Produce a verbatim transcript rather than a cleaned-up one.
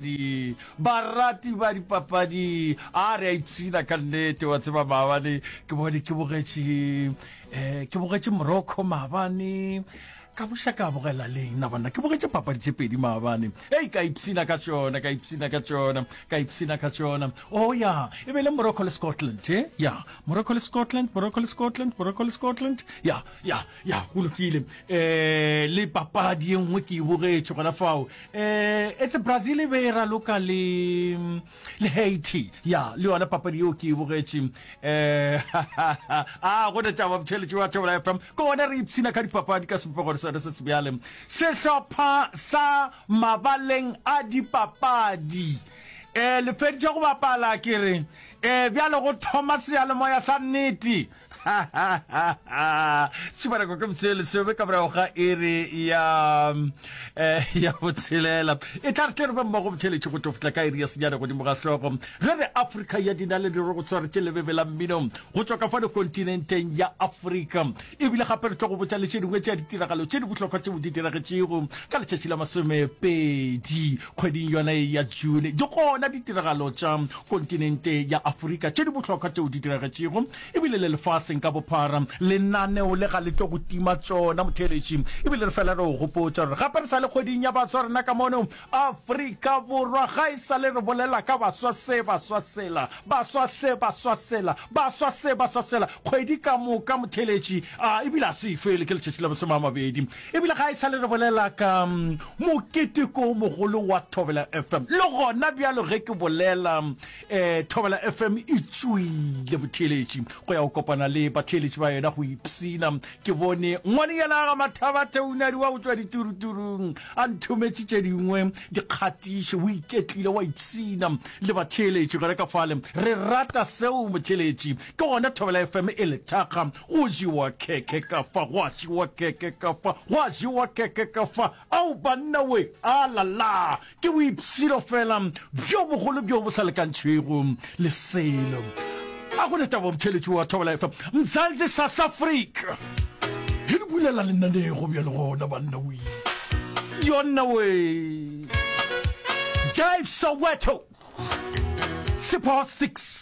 Di, barati ba dipapadi, a re a ipshina ka nnete. Wa tseba, maabane ke bone ke bogetše, um ke bogetše Morocco maabane, ka buša ka bogela leng na banna, ke bogetše papadi tše pedi maabane. Ei, ka ipshina ka tšona, ka ipshina ka tšona, ka ipshina ka tšona. Oh ya, e be le Morocco le Scotland, e ya, Morocco le Scotland, Morocco le Scotland, Morocco le Scotland, ya, ya, ya, go lokile. Um le papadi ye nngwe ke e bogetše gona fao, um etse Brazil e be e raloka le le Haiti, ya, le yona papadi yeo ke e bogetše. um a go ne taba botheletši wa Thobela F M, ke gona re ipshina ka dipapadi ka sebopego sone se sebjale. Sehlopha sa mabaleng a dipapadi um le feditše go bapala, ke re um bjale go thoma seyalemoya sa nnete. Šupanako ke metsotso e lesome ka morago ga iri ya eh, ya botshelela. E tla re tle re be mmogo botheletši go tlo fihla ka iri ya senyane godimo ga hlogo, ge re Afrika ya dinaledi re go swaretše lebebe la mmino go tšwa ka fano kontinenteng ya Afrika. Ebile gape re tlo go botša le tše dingwe tša ditiragalo tše di bohlokwa tšeo di diragetšego ka letšatši la masomepedi kgweding yona ye ya June. Di gona ditiragalo tša kontinente ya Afrika tše di bohlokwa tšeo di diragetšego ebile le lefaseng ka bophara. Lenaneo le ga le tlo go tima tšona, motheeletši. Ebile re fela re go gopotša gore gape re sa le kgweding ya baswa rena ka mono Afrika Borwa. Ga e sa le re bolela ka baswa se, baswa sela, baswa se, baswa sela, baswa se, baswa sela, kgwedi ka moka, motheeletši, a ebile a se e fele, ke letšatši la masome a mabedi. Ebile ga e sa le re bolela ka moketeko o mogolo wa Thobela F M. Le gona bjalo ge ke bolela, um Thobela F M e tšwile, motheeletši, go ya go kopana le batheeletši ba yona go ipshina. Ke bone ngwanenyana ga Mathabathe Unadi wa go tšwa dituruturung a nthometše tše dingwe dikgatišo, o iketlile wa ipshina le batheeletši gona ka fale. Re rata seo, motheeletši. Ke gona Thobela F M e le thakga. Go jewa khekhe ka fa, gwa jewa khekhe ka fa, gwa jewa khekhe ka fa. Ao banna we, a la la! Ke boipshino fela bjo bogolo bjo bo sa lekantšhwego le selo. A go ne taba, motheeletši wa Thobela F M, Mzansi South Africa e le bulela lenanego bjale gona banna we. Yonna we. Jive Soweto, Sipho Sticks.